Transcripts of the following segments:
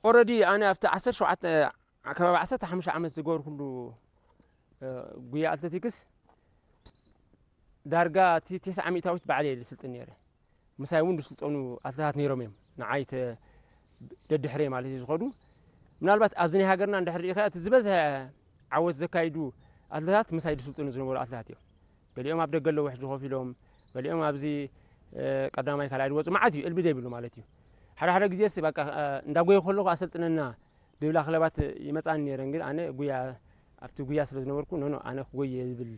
ኦረዲ ኣነ ኣብቲ ዓሰርተ ሸውዓተ፣ ከባቢ ዓሰርተ ሓሙሽተ ዓመት ዝገበርኩሉ፣ እ፣ ጉያ ኣትሌቲክስ ዳርጋ እቲ ተስዓ ሚእታዊት ባዕለየ ዝስልጥን ነይረ። ምሳይ እውን ዝስልጠኑ ኣትሌታት ነይሮም እዮም። ንዓይ ተ-፣ ደድሕረይ ማለት እዩ ዝኸዱ። ምናልባት ኣብዚ ናይ ሃገርና እንድሕር ርኢኻ እቲ ዝበዝሐ ዓወት ዘካይዱ ኣትሌታት ምሳይ ዝስልጥኑ ዝነበሩ ኣትሌታት እዮም። ገሊኦም ኣብ ደገ ኣለዉ ሕጂ ኮፍ ኢሎም፣ ገሊኦም ኣብዚ፣ እ፣ ቀዳማይ ካልኣይ ዝወፁ መዓት እዩ፣ እልቢ ዘይብሉ ማለት እዩ። ሓደ ሓደ ግዜስ በቃ፣ እ፣ እንዳጎየ ከለኹ ኣሰልጥነና ድብላ ክለባት ይመጻኒ ነይረን፣ ግን ኣነ ጉያ፣ ኣብቲ ጉያ ስለ ዝነበርኩ፣ ኖ፣ ኖ፣ ኣነ ክጎየ ዝብል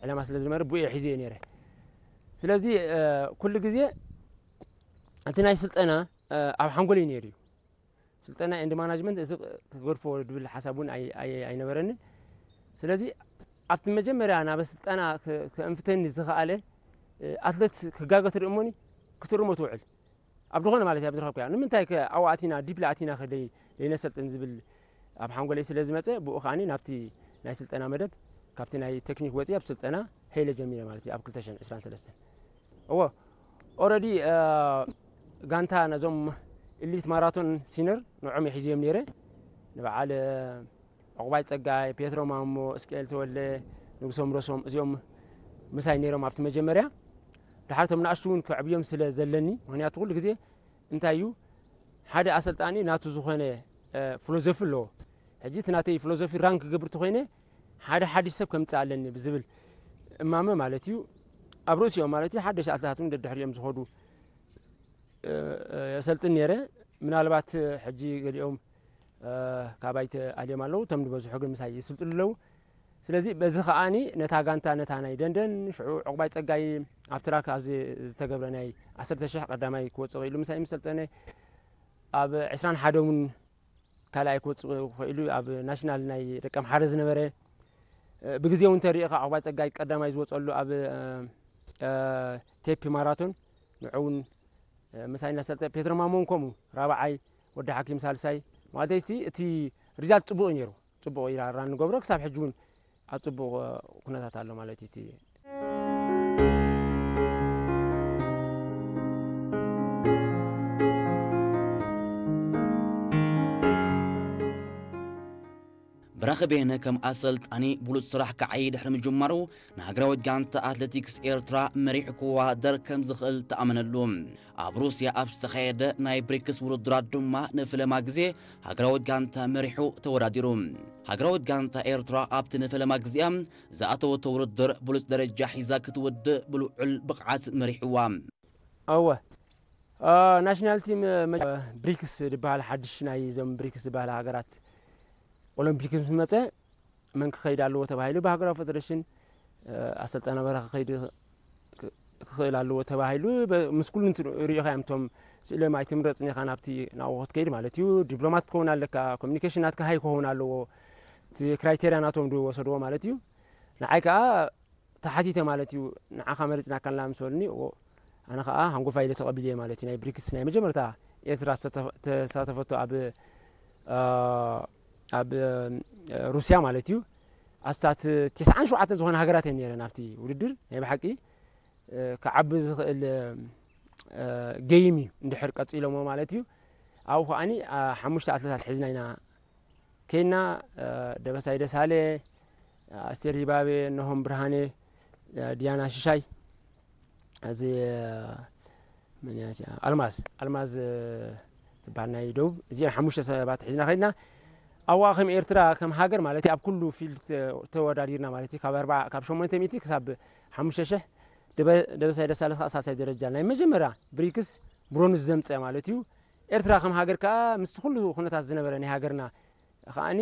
ዕላማ ስለ ዝነበረ፣ ብኡ እየ ሒዘዮ ነይረ። ስለዚ፣ እ፣ ኩሉ ግዜ እቲ ናይ ስልጠና፣ እ፣ ኣብ ሓንጎለይ ነይሩ እዩ። ስልጠና ኤንድ ማናጅመንት እዚ ክገድፎ ዝብል ሓሳብ እውን ኣይ-፣ ኣይ-፣ ኣይነበረንን። ስለዚ ኣብቲ መጀመርያ ናብ ስልጠና ክ-፣ ከእንፍተኒ ዝኸኣለ፣ እ፣ ኣትሌት ክጋገ ትርኢ እሞኒ ክትእርሞ ትውዕል። ኣብ ዝኾነ ማለት እዩ፣ ኣብ ዝረኸብካዮ። ንምንታይ ከ ኣብኡ ኣቲና፣ ዲፕሊ ኣቲና ከ ደይ-፣ ደይነሰልጥን ዝብል ኣብ ሓንጎለይ ስለ ዝመጸ፣ ብኡ ከኣኒ ናብቲ ናይ ስልጠና መደብ፣ ካብቲ ናይ ቴክኒክ ወጺአ ኣብ ስልጠና ሄለ ጀሚረ ማለት እዩ፣ ኣብ ክልተ ሽሕን ዕስራን ሰለስተን። እወ፣ ኦረዲ፣ እ፣ ጋንታ ነዞም ኢሊት ማራቶን ሲነር ንዖም የሒዝዮም ነይረ። ንበዓል፣ እ፣ ዕቑባይ ጸጋይ፣ ፔትሮ ማሞ፣ እስቅኤል ተወልደ፣ ንጉሶም ሮሶም፣ እዚኦም ምሳይ ነይሮም ኣብቲ መጀመርያ። ድሓር እቶም ንኣሽቱ እውን ከዕብዮም ስለ ዘለኒ፣ ምኽንያቱ ኩሉ ግዜ እንታይ እዩ፣ ሓደ ኣሰልጣኒ ናቱ ዝኾነ፣ እ፣ ፊሎዞፊ ኣለዎ። ሕጂ እቲ ናተይ ፊሎዞፊ ራን ክገብር ተኾይነ፣ ሓደ ሓድሽ ሰብ ከምጽእ ኣለኒ ብዝብል እማመ ማለት እዩ። ኣብ ርእሲኦም ማለት እዩ፣ ሓደሽ ኣትሌታት እውን ደድሕሪኦም ዝኸዱ፣ እ፣ እ፣ የሰልጥን ነይረ። ምናልባት ሕጂ ገሊኦም፣ እ፣ ካባይ ተኣልዮም ኣለዉ፣ እቶም ዝበዝሑ ግን ምሳይ ይስልጥሉ ኣለዉ። ስለዚ በዚ ከኣኒ ነታ ጋንታ፣ ነታ ናይ ደንደን፣ ሽዑ ዕቑባይ ጸጋይ ኣብ ትራክ ኣብዚ ዝተገብረ ናይ ዓሰርተ ሽሕ ቀዳማይ ክወጽእ ክኢሉ ምሳይ ምስ ሰልጠነ፣ ኣብ ዕስራን ሓደን እውን ካልኣይ ክወጽእ ክኢሉ፣ ኣብ ናሽናል ናይ ደቀምሓረ ዝነበረ፣ እ፣ ብግዜ እውን እንተሪኢኻ ዕቑባይ ጸጋይ ቀዳማይ ዝወጸሉ ኣብ፣ እ፣ እ፣ ቴፒ ማራቶን ንዑ እውን፣ እ፣ ምሳይ እናሰልጠ፣ ፔትሮ ማሞ እውን ከምኡ ራብዓይ፣ ወዲ ሓኪም ሳልሳይ። ማለተይሲ እቲ ሪዛልት ጽቡቕ እዩ ነይሩ። ጽቡቕ ኢራራ ንገብሮ፣ ክሳብ ሕጂ እውን ኣብ ጽቡቕ ኩነታት ኣሎ ማለት እዩ። እቲ ብራኺ በየነ ከም ኣሰልጣኒ ብሉጽ ስራሕ ክዓዪ ድሕሪ ምጅማሩ፣ ንሃገራዊት ጋንታ ኣትሌቲክስ ኤርትራ መሪሑ ክወዳደር ከም ዝኽእል ተኣመነሉ። ኣብ ሩስያ ኣብ ዝተኻየደ ናይ ብሪክስ ውድድራት ድማ ንፈለማ ግዜ ሃገራዊት ጋንታ መሪሑ ተወዳዲሩ። ሃገራዊት ጋንታ ኤርትራ ኣብቲ ንፈለማ ግዜኣ ዝኣተወቶ ውድድር ብሉጽ ደረጃ ሒዛ ክትውድእ ብልዑል ብቕዓት መሪሕዋ። እወ፣ እ፣ ናሽናል ቲም፣ እ፣ መ-፣ ብሪክስ ዝበሃል ሓድሽ ናይ እዞም ብሪክስ ዝበሃላ ሃገራት ኦሎምፒክ ምስ መጸ፣ መን ክኸይድ ኣለዎ ተባሂሉ ብሃገራዊ ፌደሬሽን፣ እ፣ ኣሰልጣኒ በረኻ ክኸይድ ክ-፣ ክኽእል ኣለዎ ተባሂሉ። በ-፣ ምስ ኩሉ እንት-፣ ሪኢኻ እዮም እቶም ስእሎም ኣይትምረጽን ኢኻ ናብቲ ናብኡ ክትከይድ ማለት እዩ። ዲፕሎማት ክትከውን ኣለካ፣ ኮሚኒኬሽን ናትካ ሃይ ክኸውን ኣለዎ። እቲ ክራይቴርያ ናቶም ዝወሰድዎ ማለት እዩ። ንዓይ ከኣ ተሓቲተ ማለት እዩ። ንዓኻ መሪጽናካ ኣለና ምስ በሉኒ፣ እዎ፣ ኣነ ከኣ ሃንጎፋይ ኢለ ተቐቢለዮ ማለት እዩ። ናይ ብሪክስ ናይ መጀመርታ ኤርትራ ዝተተ-፣ ተሳተፈቶ ኣብ፣ እ፣ ኣብ፣ እ፣ ሩስያ ማለት እዩ። ኣስታት ተስዓን ሸውዓተን ዝኾና ሃገራት እየን ነይረን ኣብቲ ውድድር። ናይ ብሓቂ፣ እ፣ ክዓቢ ዝኽእል፣ እ፣ ጌይም እዩ እንድሕር ቀጺሎሞ ማለት እዩ። ኣብኡ ከኣኒ፣ ኣ፣ ሓሙሽተ ኣትሌታት ሒዝና ኢና ኬና፣ እ፣ ደበሳይ ደሳለ፣ ኣስቴር ይባቤ፣ እነሆም ብርሃኔ፣ እ፣ ዲያና ሽሻይ፣ እዚ፣ እ፣ መን እያ እዚኣ? ኣልማዝ፣ ኣልማዝ፣ እ፣ ትበሃል ናይ ደቡብ። እዚአን ሓሙሽተ ሰባት ሒዝና ከድና። ኣብኣ ከም ኤርትራ፣ ከም ሃገር ማለት እዩ፣ ኣብ ኩሉ ፊልድ ተ-፣ ተወዳዲርና ማለት እዩ። ካብ ኣርባዓ፣ ካብ ሸሞንተ ሚእቲ ክሳብ ሓሙሽተ ሽሕ፣ ደበ-፣ ደበሳይ ደሳለ ከዓ ሳልሳይ ደረጃ ናይ መጀመርያ ብሪክስ ብሮንዝ ዘምፀ ማለት እዩ። ኤርትራ ከም ሃገር ከዓ ምስቲ ኩሉ ኩነታት ዝነበረ ናይ ሃገርና ከኣኒ፣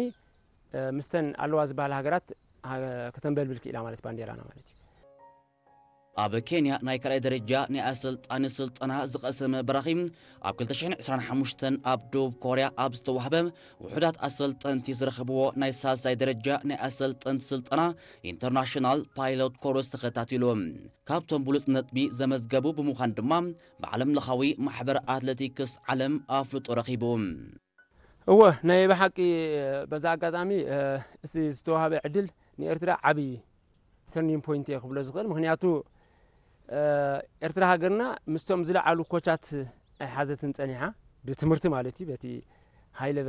እ፣ ምስተን ኣለዋ ዝበሃላ ሃገራት ሃ-፣ ከተንበልብል ክኢላ ማለት ባንዴራና ማለት እዩ። ኣብ ኬንያ ናይ ካልኣይ ደረጃ ናይ ኣሰልጣኒ ስልጠና ዝቐሰመ በራኺ፣ ኣብ ክልተ ሽሕን ዕስራን ሓሙሽተን ኣብ ደቡብ ኮርያ ኣብ ዝተዋህበ ውሑዳት ኣሰልጠንቲ ዝረኸብዎ ናይ ሳልሳይ ደረጃ ናይ ኣሰልጠንቲ ስልጠና ኢንተርናሽናል ፓይሎት ኮርስ ተኸታቲሉ። ካብቶም ብሉጽ ነጥቢ ዘመዝገቡ ብምዃን ድማ ብዓለም ለኻዊ ማሕበር ኣትሌቲክስ ዓለም ኣፍልጦ ረኺቡ። እወ፣ ናይ ብሓቂ በዛ ኣጋጣሚ፣ እ፣ እቲ ዝተዋህበ ዕድል ንኤርትራ ዓብዪ ተርኒንግ ፖይንት እየ ክብሎ ዝኽእል። ምኽንያቱ፣ እ፣ ኤርትራ ሃገርና ምስቶም ዝለዓሉ ኮቻት ኣይሓዘትን ጸኒሓ፣ ብትምህርቲ ማለት እዩ፣ በቲ ሃይ ሌቨል